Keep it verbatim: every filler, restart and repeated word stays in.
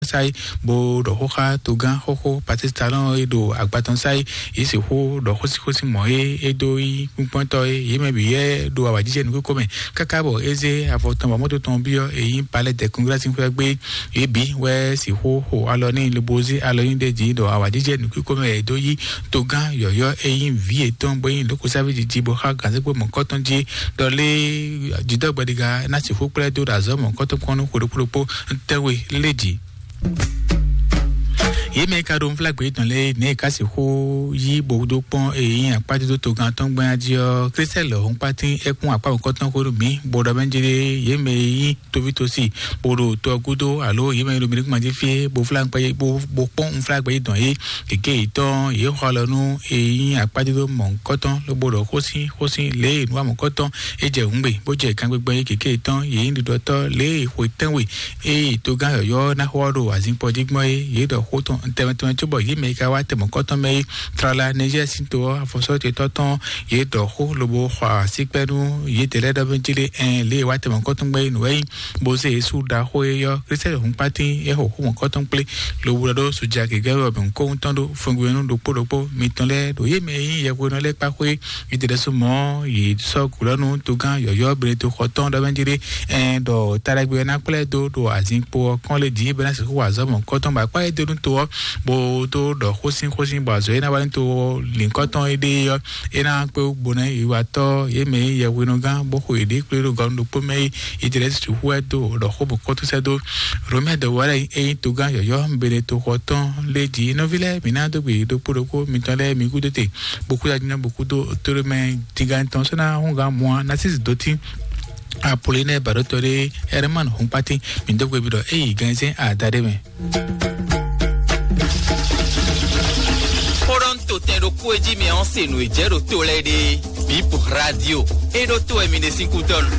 Sáyé, bó ɖɔ xó xá togán xóxó Patrice Talon e ɖo agbatɔn Sáyé, yě sixú ɖɔ xósíxósí mɔ̌ e é dó yí kpínkpɔ́ntɔ́ e yě mɛ bǐ yɛ ɖo awǎjijɛ nukúnkó mɛ káká bɔ é zé avɔ tɔn bɔ mɔ́to tɔn byɔ́ e nyí Palais des Congrès sín xwé gbé. Yě bǐ wɛ sixú xo alɔ n'i lobo zé alɔ nyi ɖe jí ɖɔ awǎjijɛ nukúnkó mɛ e dó yí togán yɔ̌yɔ́ e nyí vǐ yětɔn bó nyí lǒkɔsáví jiji bó xá gǎnzégbé mɔ̌kɔtɔn jí ɖɔ lé jǐdɔ́gbɛɖiga ná sixú kplá ɛ dó ɖo azɔ̌ mɔ̌kɔtɔn kpɔ́n nú xwe ɖokpó ɖokpó tɛ́nwe lé jǐ. Yě mɛ ka ɖo nflágbé tɔn lé nɛ ka sixú yí bó dó kpɔ́n e nyí akpájúdó togán tɔn gbɛn jí ɔ́, Christelle Hɔnkpátín é kún akpá mɔ̌kɔtɔn xó nú mǐ bó ɖɔ mɛ jí ɖé yě mɛ e nyí tóvítósi bó ɖo tɔ gúdo alo yě mɛ e ɖo mǐɖékúnma jí fí bó flá bó bó kpɔ́n nflágbé tɔn yé gěgé yětɔn yě xɔ alɔ nú e nyí akpájúdó mɔ̌kɔtɔn lobo ɖɔ xósín xósín lě e nǔwa mɔ̌kɔtɔn é jɛ hǔngbe bó jɛ kangbégbé yé gěgé yětɔn yě nyí ɖiɖɔtɔ́ lě e xwe tɛ́nwe eye togán yɔ̌yɔ́ ná xɔ ɖo azinkpo jí gbɔn é, yě ɖɔ xó tɔn tɛnmɛ tɛnmɛ cóbɔ yě mɛ e ka wá tɛmɔkɔtɔn mɛ é, tlala Niger sín to ɔ́, afɔsɔ́tetɔ́ tɔn, yě ɖɔ xó lobo xɔ asíkpɛ́ nú yědɛɛ lɛ́ɛ ɖɔ mɛ jí lé ɛn lě e wá tɛmɔkɔtɔn gbɛ é nǔ wɛ nyí, bó zé yě sú ɖaxó é yɔ́, Christelle Hɔnkpátín é xɔ xó mɔ̌kɔtɔn kplé, lobo ɖɔ ɖó soja gěgé wɛ mɛ kó ŋutɔn ɖó fɛngbɛnú ɖokpó ɖokpó mitɔn lɛ́ɛ ɖo yě mɛ e nyí yɛhwenɔ lɛ́ɛ kpá xwé Yětɛ́lɛ́súmɔ yě sɔ́ gǔlɔ́nú togán yɔ̌yɔ́ Benetoxɔ tɔn ɖɔ mɛ jí ɖé, ɛn ɖɔ taɖagbe ɔ́ ná kplá ɛ dó ɖo azinkpo ɔ́ kɔn lé jí bɔ é ná sixú wa azɔ̌ mɔ̌kɔtɔn bɔ akpá e dó nú to ɔ́, bó dó ɖɔ xósín xósín bɔ azɔ̌ e ná wa nú to lǐnkɔtɔn é ɖe ɔ́, é ná kpé wú gbo ná yi watɔ́ yě mɛ e nyí yɛhwenɔgán bó xo yěɖée kplé ɖo gɔnu ɖokpó mɛ é. Yětɛ́lɛ́sú xú ɛ dó ɖɔ xó mɔ̌kɔtɔn sɛ́ dó Romɛ dɔwɔ́ lɛ́ɛ e nyí togán yɔ̌yɔ́ Benetoxɔ tɔn lé jí. Nɔví lɛ́ɛ, mǐ ná dó gbe ɖokpó ɖokpó mitɔn lɛ́ɛ mi gúdo te. Bokuda jina bokudo toro mɛ tiga tɔn sɔna hunga mua nasis doti. Apolinɛ baɖotɔ ɖe Herman Hunkpati mi dó gbe bi ɖɔ eyi gɛnzɛn ada ɖe mɛ. Xó ɖɔ ń to tɛn ɖokpó e jí mi ɔ́ se nǔ e jɛ ɖo to lɛ́ɛ ɖe. Bip radio. E ɖo to wɛ mi ɖe sín kútɔnu.